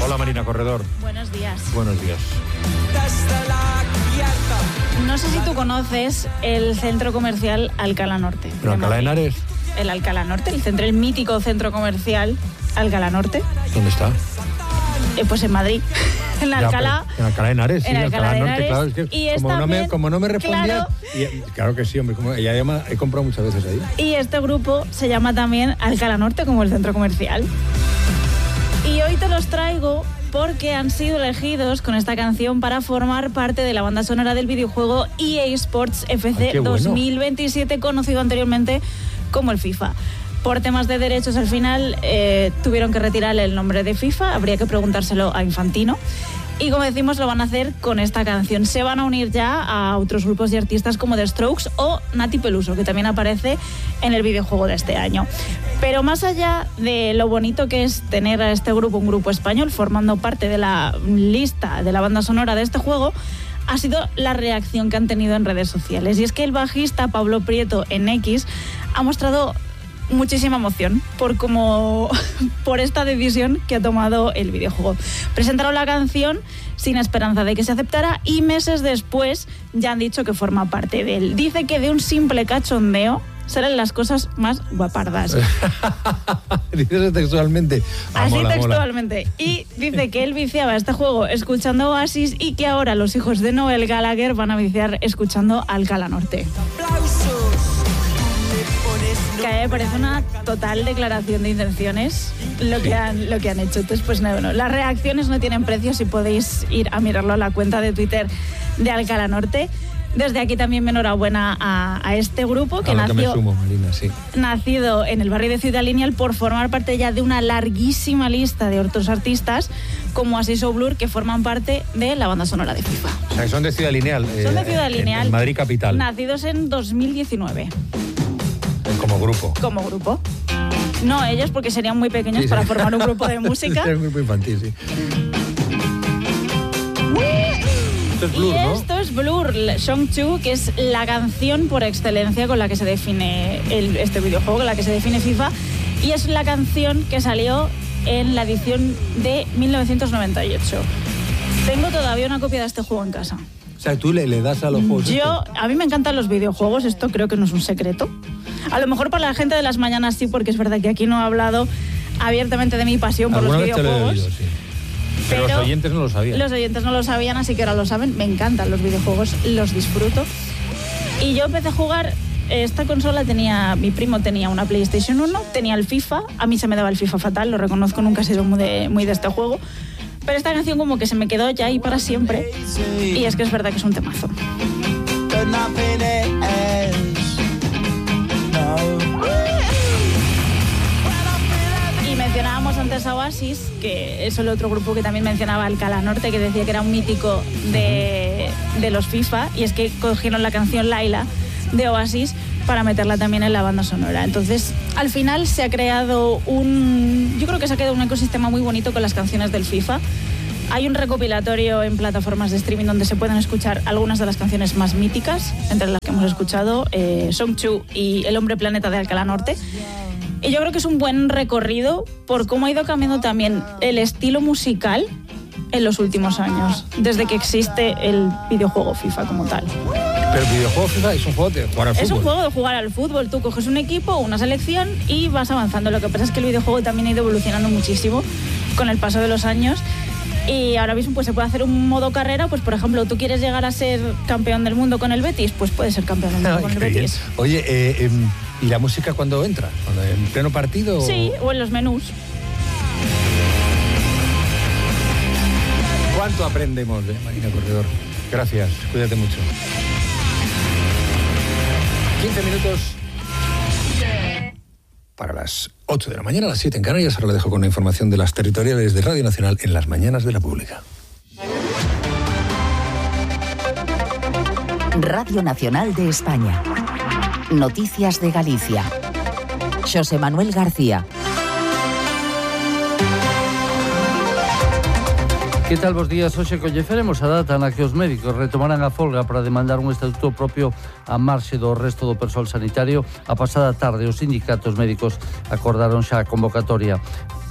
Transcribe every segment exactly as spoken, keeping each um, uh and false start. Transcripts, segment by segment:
Hola Marina Corredor. Buenos días. Buenos días. No sé si tú conoces el centro comercial Alcalá Norte. ¿Pero Alcalá de Henares? El Alcalá Norte, el centro, el mítico centro comercial Alcalá Norte. ¿Dónde está? Eh, pues en Madrid. En Ya, Alcalá. En Alcalá de Henares, sí, en Alcalá, Alcalá de Norte, Henares, claro. Es que y es como, no también, me, como no me respondía. Claro, Y, claro que sí, hombre. Como, y además he comprado muchas veces ahí. y este grupo se llama también Alcalá Norte, como el centro comercial. Y hoy te los traigo porque han sido elegidos con esta canción para formar parte de la banda sonora del videojuego E A Sports F C Ay, qué bueno. dos mil veintisiete, conocido anteriormente como el FIFA. Por temas de derechos, al final eh, tuvieron que retirarle el nombre de FIFA, habría que preguntárselo a Infantino. Y como decimos, lo van a hacer con esta canción. Se van a unir ya a otros grupos y artistas como The Strokes o Nati Peluso, que también aparece en el videojuego de este año. Pero más allá de lo bonito que es tener a este grupo, un grupo español, formando parte de la lista de la banda sonora de este juego, ha sido la reacción que han tenido en redes sociales. Y es que el bajista Pablo Prieto en X ha mostrado muchísima emoción por como por esta decisión que ha tomado el videojuego. Presentaron la canción sin esperanza de que se aceptara y meses después ya han dicho que forma parte de él. Dice que de un simple cachondeo salen las cosas más guapardas. Dices textualmente. Ah, Así mola, textualmente. Mola. Y dice que él viciaba este juego escuchando Oasis y que ahora los hijos de Noel Gallagher van a viciar escuchando Alcalá Norte. Que a mí me parece una total declaración de intenciones lo que han, lo que han hecho. Entonces, pues no, no, las reacciones no tienen precio si podéis ir a mirarlo a la cuenta de Twitter de Alcalá Norte. Desde aquí también mi enhorabuena a, a este grupo que, a lo nació, que me sumo, Marina, sí. nacido en el barrio de Ciudad Lineal por formar parte ya de una larguísima lista de otros artistas como Oasis o Blur que forman parte de la banda sonora de FIFA. O sea, son de Ciudad Lineal. Son de Ciudad eh, Lineal. En, en Madrid capital. Nacidos en dos mil diecinueve. Como grupo. Como grupo. No ellos, porque serían muy pequeños sí, para sí. formar un grupo de música. Es un grupo infantil, sí. Esto es Blur, y ¿no? Esto es Blur, Song two, que es la canción por excelencia con la que se define el, este videojuego, con la que se define FIFA. Y es la canción que salió en la edición de mil novecientos noventa y ocho. Tengo todavía una copia de este juego en casa. O sea, tú le, le das a los juegos. Yo, esto? A mí me encantan los videojuegos, esto creo que no es un secreto. A lo mejor para la gente de las mañanas sí, porque es verdad que aquí no he hablado abiertamente de mi pasión por los videojuegos. Vez te lo he oído, sí. Pero, pero los oyentes no lo sabían. Los oyentes no lo sabían, así que ahora lo saben. Me encantan los videojuegos, los disfruto. Y yo empecé a jugar, esta consola tenía, mi primo tenía una PlayStation uno, tenía el FIFA, a mí se me daba el FIFA fatal, lo reconozco, nunca he sido muy de, muy de este juego. Pero esta canción como que se me quedó ya ahí para siempre. Y es que es verdad que es un temazo. Y mencionábamos antes a Oasis, que es el otro grupo que también mencionaba Alcalá Norte, que decía que era un mítico de, de los FIFA. Y es que cogieron la canción Laila de Oasis para meterla también en la banda sonora. Entonces, al final se ha creado un... Yo creo que se ha creado un ecosistema muy bonito con las canciones del FIFA. Hay un recopilatorio en plataformas de streaming donde se pueden escuchar algunas de las canciones más míticas, entre las que hemos escuchado eh, Song two y El Hombre Planeta de Alcalá Norte. Y yo creo que es un buen recorrido por cómo ha ido cambiando también el estilo musical en los últimos años, desde que existe el videojuego FIFA como tal. Pero el videojuego FIFA es un juego de jugar al fútbol. Es un juego de jugar al fútbol. Tú coges un equipo, una selección y vas avanzando. Lo que pasa es que el videojuego también ha ido evolucionando muchísimo con el paso de los años. Y ahora mismo pues se puede hacer un modo carrera, pues por ejemplo, tú quieres llegar a ser campeón del mundo con el Betis, pues puedes ser campeón del mundo Ay, con el Betis. Bien. Oye, eh, eh, ¿y la música cuándo entra? ¿Cuando en pleno partido? Sí, o en los menús. ¿Cuánto aprendemos de Marina Corredor? Gracias, cuídate mucho. quince minutos para las ocho de la mañana, a las siete en Canarias. Ahora le dejo con la información de las territoriales de Radio Nacional en las mañanas de la Pública. Radio Nacional de España. Noticias de Galicia. Xosé Manuel García. Que tal vos días? Hoxe colleceremos a data na que os médicos retomarán a folga para demandar un estatuto propio a marxe do resto do persoal sanitario. A pasada tarde os sindicatos médicos acordaron xa a convocatoria.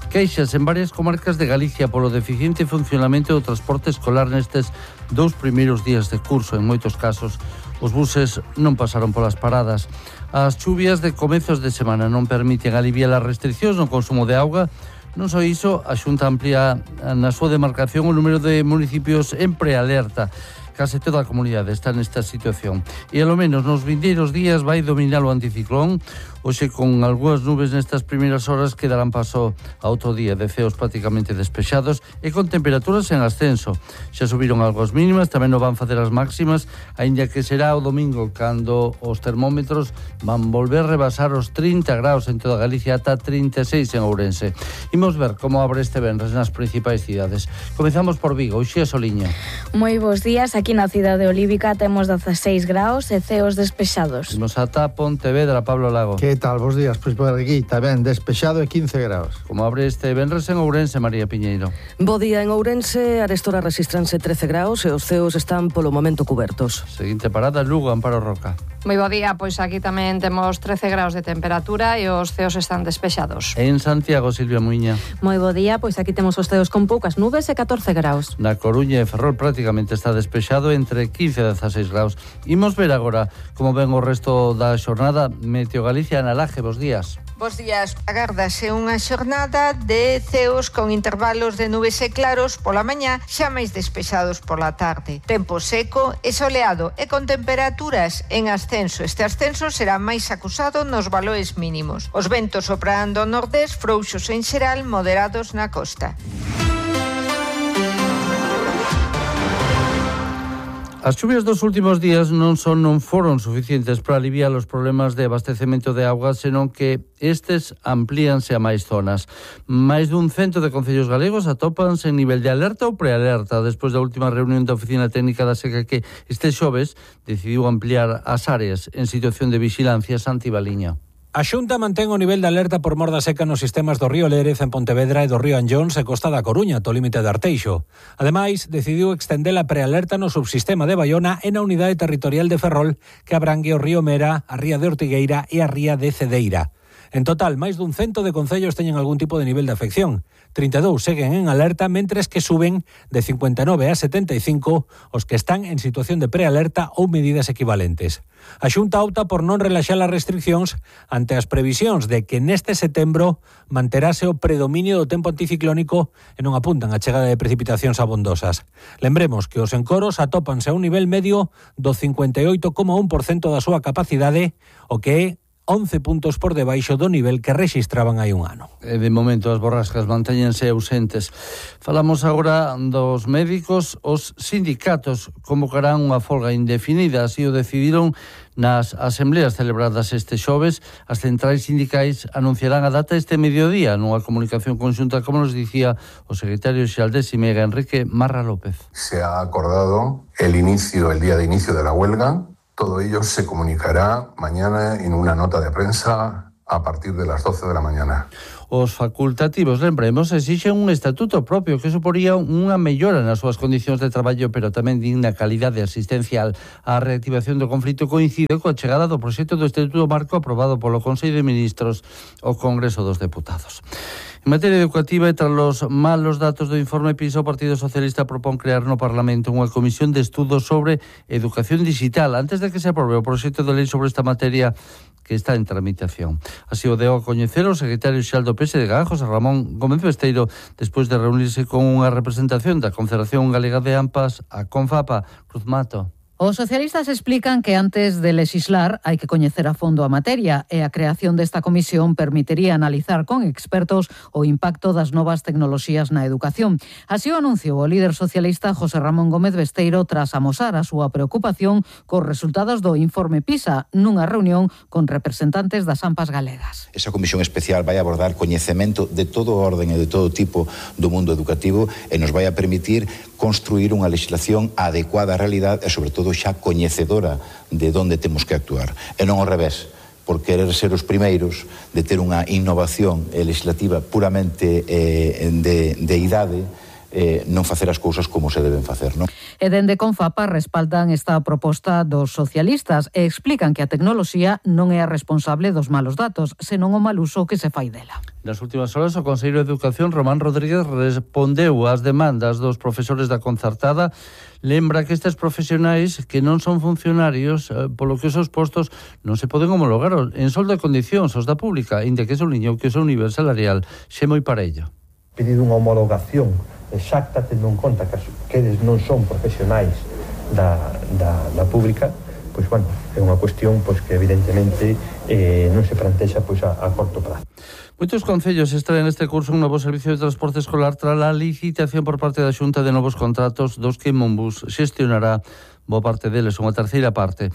Queixas en varias comarcas de Galicia polo deficiente funcionamento do transporte escolar nestes dous primeiros días de curso. En moitos casos, os buses non pasaron polas paradas. As chuvias de comezos de semana non permiten aliviar as restriccións no consumo de auga. Non só iso, a Xunta amplía na súa demarcación o número de municipios en prealerta. Case toda a comunidade está nesta situación. E, ao menos, nos vindeiros días vai dominar o anticiclón. Hoxe, con algunhas nubes nestas primeiras horas, que darán paso a outro día de ceos prácticamente despexados e con temperaturas en ascenso. Xa subiron algo as mínimas, tamén non van facer as máximas, aínda que será o domingo cando os termómetros van volver a rebasar os trinta graus en toda Galicia, ata trinta e seis en Ourense. Imos ver como abre este venres nas principais cidades. Comezamos por Vigo, Uxía Soliña. Moi bons días, aquí na cidade olívica temos dezaseis graus e ceos despexados. Imos ata Pontevedra, Pablo Lago. Que tal? Bos días, pois por aquí tamén despexado e quince graus. Como abre este venres en Ourense, María Piñeiro. Bo día en Ourense, arestora resistranse trece graus e os ceos están polo momento cubertos. Seguinte parada, Lugo, Amparo Roca. Moi bo día, pois aquí tamén temos trece graus de temperatura e os ceos están despexados. En Santiago, Silvia Muiña. Moi bo día, pois aquí temos os ceos con poucas nubes e catorce graus. Na Coruña e Ferrol prácticamente está despexado entre quince e dezaseis graus. Imos ver agora como ven o resto da xornada. Meteo Galicia, Ana Laje, bos días. Bos días. Agárdase unha xornada de ceos con intervalos de nubes e claros pola mañá, xa máis despexados pola tarde. Tempo seco e soleado e con temperaturas en ascenso. Este ascenso será máis acusado nos valores mínimos. Os ventos soprarán do nordés, frouxos en xeral, moderados na costa. As chuvias dos últimos días non son non foron suficientes para aliviar os problemas de abastecemento de auga, senón que estes amplíanse a máis zonas. Máis dun cento de concellos galegos atópanse en nivel de alerta ou prealerta despois da última reunión da Oficina Técnica da Seca, que este xoves decidiu ampliar as áreas en situación de vixilancia. Santi Baliña. A Xunta mantén o nivel de alerta por mor da seca nos sistemas do río Lérez en Pontevedra e do río Anllóns e Costa da Coruña, to límite de Arteixo. Ademais, decidiu extender a prealerta no subsistema de Baiona e na unidade territorial de Ferrol, que abrangue o río Mera, a ría de Ortigueira e a ría de Cedeira. En total, máis dun cento de concellos teñen algún tipo de nivel de afección. trinta e dous seguen en alerta, mentres que suben de cincuenta e nove a setenta e cinco os que están en situación de prealerta ou medidas equivalentes. A Xunta opta por non relaxar as restriccións ante as previsións de que neste setembro manterase o predominio do tempo anticiclónico e non apuntan a chegada de precipitacións abondosas. Lembremos que os encoros atópanse a un nivel medio do cincuenta e oito coma un por cento da súa capacidade, o que é once puntos por debaixo do nivel que rexistraban hai un ano. E de momento as borrascas mantéñense ausentes. Falamos agora dos médicos. Os sindicatos convocarán unha folga indefinida, así o decidiron nas asembleas celebradas este xoves. As centrais sindicais anunciarán a data este mediodía nunha comunicación conxunta, como nos dicía o secretario xeral de Simega, Enrique Marra López. Se ha acordado el inicio, el día de inicio de la huelga. Todo ello se comunicará mañana en una nota de prensa a partir de las doce de la mañana. Os facultativos, lembremos, exixen un estatuto propio que suporía unha mellora nas súas condicións de traballo, pero tamén digna calidade asistencial. A reactivación do conflito coincide coa chegada do proxecto do Estatuto Marco aprobado polo Consello de Ministros ao Congreso dos Deputados. En materia educativa, e tras os malos datos do informe PISA, o Partido Socialista propón crear no Parlamento unha comisión de estudos sobre educación digital antes de que se aprobe o proxecto de lei sobre esta materia que está en tramitación. Así o deu a coñecer o secretario xeral do P S D G, José Ramón Gómez Besteiro, despois de reunirse con unha representación da Confederación Galega de AMPAs, a CONFAPA. Cruz Mato. Os socialistas explican que antes de legislar hai que coñecer a fondo a materia e a creación desta comisión permitiría analizar con expertos o impacto das novas tecnoloxías na educación. Así o anunciou o líder socialista José Ramón Gómez Besteiro tras amosar a súa preocupación cos resultados do informe PISA nunha reunión con representantes das AMPAs galegas. Esa comisión especial vai abordar coñecemento de todo orden e de todo tipo do mundo educativo e nos vai a permitir construir unha legislación adecuada á realidade e, sobre todo, xa coñecedora de onde temos que actuar. E non ao revés, por querer ser os primeiros de ter unha innovación legislativa puramente eh, de, de idade, eh, non facer as cousas como se deben facer, non? E dende Confapa respaldan esta proposta dos socialistas e explican que a tecnoloxía non é a responsable dos malos datos, senón o mal uso que se fai dela. Nas últimas horas, o Consello de Educación, Román Rodríguez, respondeu ás demandas dos profesores da concertada. Lembra que estes profesionais que non son funcionarios, eh, polo que os seus postos non se poden homologar en soldo de condicións os da pública, inda que sublinhou que o seu nivel salarial xe moi parello. Pedido unha homologación exacta, tendo en conta que, que eles non son profesionais da, da, da pública, pois, bueno, é unha cuestión pois, que evidentemente eh, non se plantexa pois, a, a corto prazo. Moitos concellos extraen este curso un novo servicio de transporte escolar tras a licitación por parte da Xunta de novos contratos dos que Monbus xestionará boa parte deles, unha terceira parte.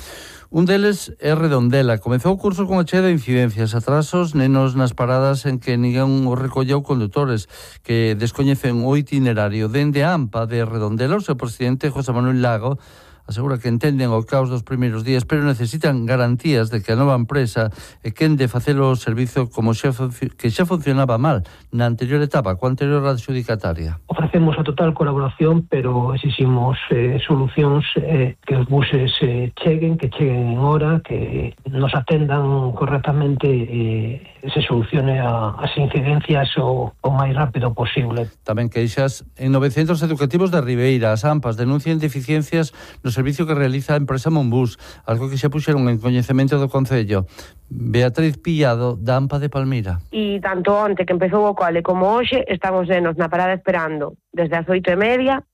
Un deles é Redondela. Comezou o curso con a chea de incidencias, atrasos, nenos nas paradas en que ninguén o recolleu, condutores que descoñecen o itinerario. Dende a AMPA de Redondela, o seu presidente, José Manuel Lago, asegura que entenden o caos dos primeiros días, pero necesitan garantías de que a nova empresa é quen de facelo o servizo como xa que xa funcionaba mal na anterior etapa, coa anterior adxudicataria. Ofrecemos a total colaboración, pero exiximos eh, solucións eh, que os buses eh, cheguen, que cheguen en hora, que nos atendan correctamente e eh, se solucione a, as incidencias o, o máis rápido posible. Tamén queixas en nove centros educativos da Ribeira. As AMPAs denuncian deficiencias no servicio que realiza a empresa Monbus, algo que xa puxeron en coñecemento do Concello. Beatriz Pillado, da AMPA de Palmira. E tanto onte que empezou o cole como hoxe, estamos nenos na parada esperando desde as oito e media,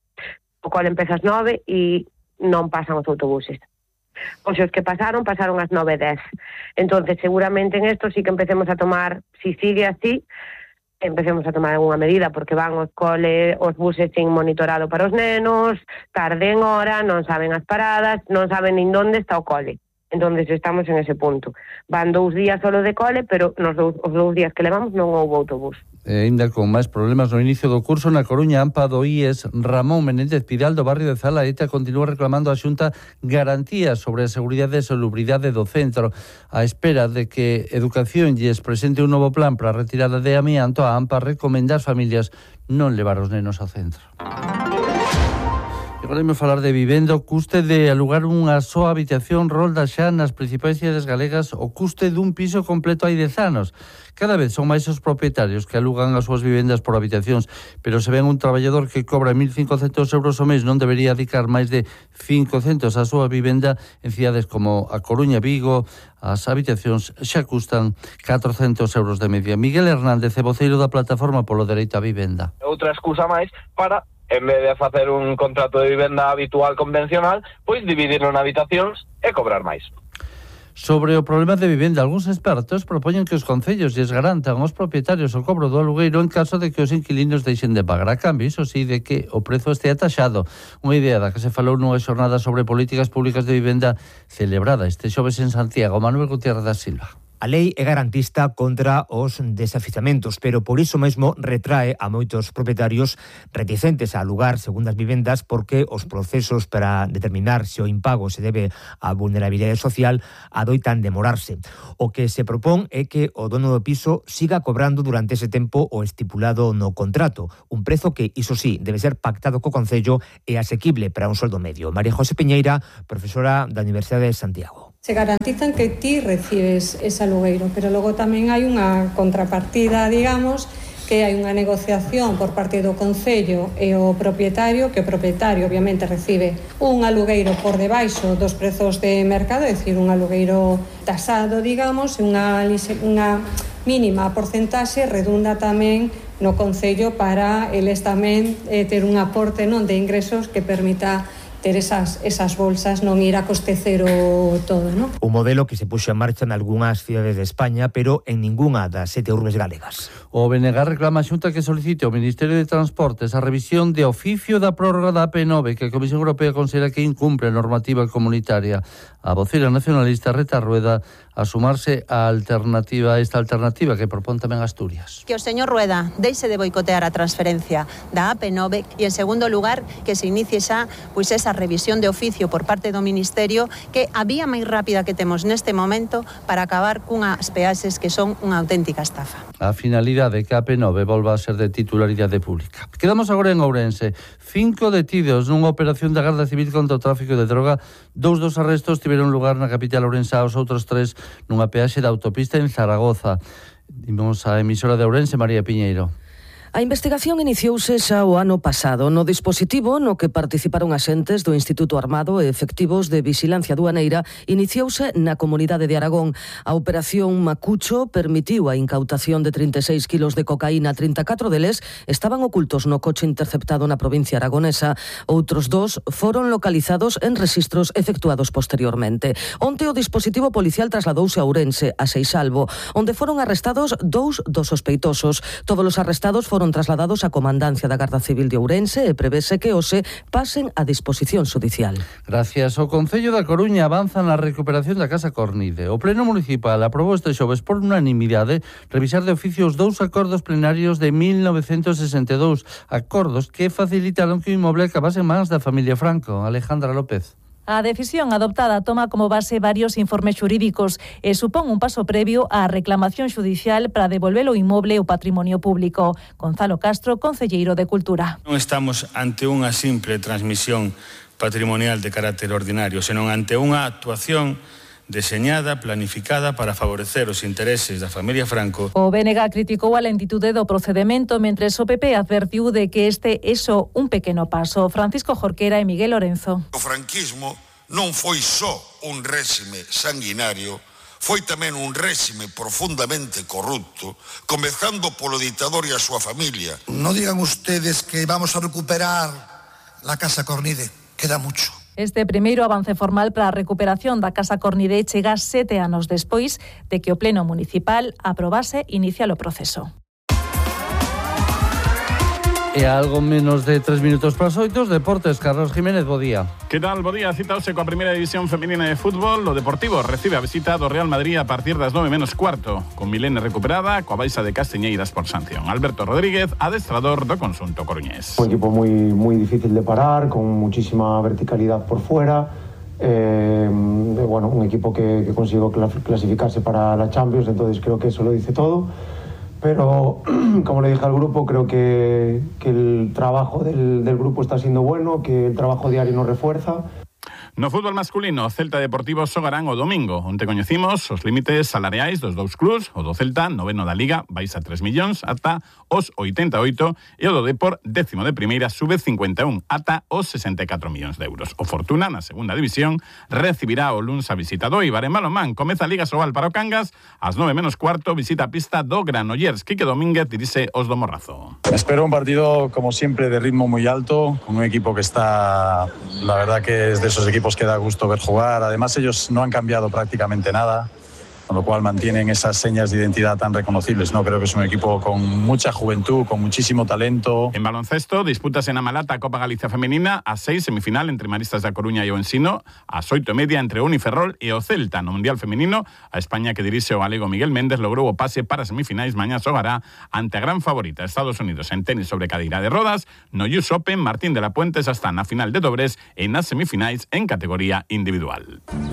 o cole empeza ás nove e non pasan os autobuses. Os os que pasaron, pasaron ás nove e dez. Entonces, seguramente en esto sí que empecemos a tomar, si sigue así, empecemos a tomar alguna medida, porque van os cole, os buses sin monitorado para os nenos, tarde en hora, non saben as paradas, non saben nin onde está o cole. Entonces estamos en ese punto. Van dous días solo de cole, pero nos dous, os dous días que levamos non houve autobús. E ainda con máis problemas no inicio do curso, na Coruña, AMPA do I E S, Ramón Menéndez Pidal, do barrio de Zalaeta, continúa reclamando a Xunta garantías sobre a seguridade e salubridade do centro. A espera de que Educación lles presente un novo plan para a retirada de amianto, a AMPA recomenda ás familias non levar os nenos ao centro. Agora imos falar de vivenda. O custe de alugar unha soa habitación rolda xa nas principais cidades galegas o custe dun piso completo hai dez anos. Cada vez son máis os propietarios que alugan as súas vivendas por habitacións, pero se ven un traballador que cobra mil cincocentos euros ao mes non debería dedicar máis de cincocentos á súa vivenda. En cidades como a Coruña, Vigo, as habitacións xa custan catrocentos euros de media. Miguel Hernández, voceiro da Plataforma polo Dereito á Vivenda. Outra excusa máis para, en vez de facer un contrato de vivenda habitual convencional, pois dividirlo en habitacións e cobrar máis. Sobre o problema de vivenda, algúns expertos propoñen que os concellos lles garantan aos propietarios o cobro do alugueiro en caso de que os inquilinos deixen de pagar, a cambio, iso sí, de que o prezo estea taxado. Unha idea da que se falou nunha xornada sobre políticas públicas de vivenda celebrada este xoves en Santiago. Manuel Gutiérrez da Silva. A lei é garantista contra os desafiuzamentos, pero por iso mesmo retrae a moitos propietarios reticentes a alugar segundas vivendas porque os procesos para determinar se o impago se debe á vulnerabilidade social adoitan demorarse. O que se propón é que o dono do piso siga cobrando durante ese tempo o estipulado no contrato, un prezo que, iso sí, debe ser pactado co Concello e asequible para un soldo medio. María José Piñeira, profesora da Universidade de Santiago. Se garantizan que ti recibes ese alugueiro, pero logo tamén hai unha contrapartida, digamos, que hai unha negociación por parte do Concello e o propietario, que o propietario obviamente recibe un alugueiro por debaixo dos prezos de mercado, é dicir, un alugueiro tasado, digamos, unha, unha mínima porcentaxe redunda tamén no Concello para eles tamén eh, ter un aporte non de ingresos que permita ter esas, esas bolsas, non ir a coste cero todo, non? Un modelo que se puxo en marcha en algunhas cidades de España, pero en ningunha das sete urbes galegas. O B N G reclama a Xunta que solicite ao Ministerio de Transportes a revisión de oficio da prórroga da A P nove, que a Comisión Europea considera que incumpre a normativa comunitaria. A vocera nacionalista Rita Rueda a sumarse a alternativa a esta alternativa que propón tamén Asturias. Que o señor Rueda deixe de boicotear a transferencia da A P nove e, en segundo lugar, que se inicie xa pois esa esa revisión de oficio por parte do Ministerio, que a vía máis rápida que temos neste momento para acabar cunhas peaxes que son unha auténtica estafa. A finalidade que a P nove volva a ser de titularidade pública. Quedamos agora en Ourense. Cinco detidos nunha operación da Garda Civil contra o tráfico de droga. Dous dos arrestos tiveron lugar na capital ourensa, os outros tres nunha peaxe da autopista en Zaragoza. Dimos a emisora de Ourense, María Piñeiro. A investigación iniciouse xa o ano pasado no dispositivo no que participaron axentes do Instituto Armado e efectivos de vixilancia aduaneira. Iniciouse na comunidade de Aragón. A operación Macucho permitiu a incautación de trinta e seis kilos de cocaína. trinta e catro deles estaban ocultos no coche interceptado na provincia aragonesa. Outros dos foron localizados en rexistros efectuados posteriormente. Onte o dispositivo policial trasladouse a Ourense, a Seixalbo, onde foron arrestados dous dos sospeitosos. Todos os arrestados foron foron trasladados á Comandancia da Garda Civil de Ourense e prevese que hoxe pasen a disposición judicial. Gracias. O Concello da Coruña avanza na recuperación da Casa Cornide. O Pleno Municipal aprobou este xoves por unanimidade revisar de oficio os dous acordos plenarios de mil novecentos sesenta e dous, acordos que facilitaron que o inmoble acabase en mans da familia Franco. Alejandra López. A decisión adoptada toma como base varios informes xurídicos e supón un paso previo á reclamación xudicial para devolver o inmoble ao patrimonio público. Gonzalo Castro, concelleiro de Cultura. Non estamos ante unha simple transmisión patrimonial de carácter ordinario, senón ante unha actuación deseñada, planificada para favorecer os intereses da familia Franco. O B N G criticou a lentitude do procedemento, mentres o P P advertiu de que este é só un pequeno paso. Francisco Jorquera e Miguel Lorenzo. O franquismo non foi só un réxime sanguinario, foi tamén un réxime profundamente corrupto, comezando polo dictador e a súa familia. No digan ustedes que vamos a recuperar la Casa Cornide, queda mucho. Este primeiro avance formal para a recuperación da Casa Cornide chega sete anos despois de que o Pleno Municipal aprobase iniciar o proceso. E a algo menos de tres minutos para as oito, Deportes, Carlos Jiménez, bo día. Que tal, bo día, citaose coa primeira división femenina de fútbol. O Deportivo recibe a visita do Real Madrid a partir das nove menos cuarto, con Milene recuperada, coa baixa de Castiñeiras por sanción. Alberto Rodríguez, adestrador do conxunto coruñés. Un equipo moi moi difícil de parar, con muchísima verticalidad por fuera. Eh, bueno, un equipo que, que consiguió clasificarse para la Champions, entonces creo que eso lo dice todo. Pero, como le dije al grupo, creo que, que el trabajo del, del grupo está siendo bueno, que el trabajo diario nos refuerza. No fútbol masculino, Celta e Deportivo xogarán o domingo, onte coñecimos os límites salariais dos dous clubs. O do Celta, noveno da Liga, baixa tres millóns ata os oitenta e oito, e o do Depor, décimo de primeira, sube cincuenta e un ata os sesenta e catro millóns de euros. O Fortuna, na segunda división, recibirá o luns a visita do Eibar en balonmán. Comeza a Liga Sobal para o Cangas, ás nove menos cuarto, visita a pista do Granollers. Quique Domínguez dirixe os do Morrazo. Espero un partido, como siempre, de ritmo muy alto, con un equipo que está, la verdad que es de esos equipos que da gusto ver jugar. Además, ellos no han cambiado prácticamente nada, con lo cual mantienen esas señas de identidad tan reconocibles, ¿no? Creo que es un equipo con mucha juventud, con muchísimo talento. En baloncesto, disputas en Amalata Copa Galicia Femenina, a seis semifinal entre Maristas da Coruña e o Ensino, a oito e media entre o Uniferrol e o Celta. No Mundial Femenino, a España, que dirixe o galego Miguel Méndez, logrou o pase para semifinais. Mañá xogará ante a gran favorita Estados Unidos en tenis sobre cadeira de rodas. No U S Open, Martín de la Puente xa está na final de dobres e nas semifinais en categoría individual.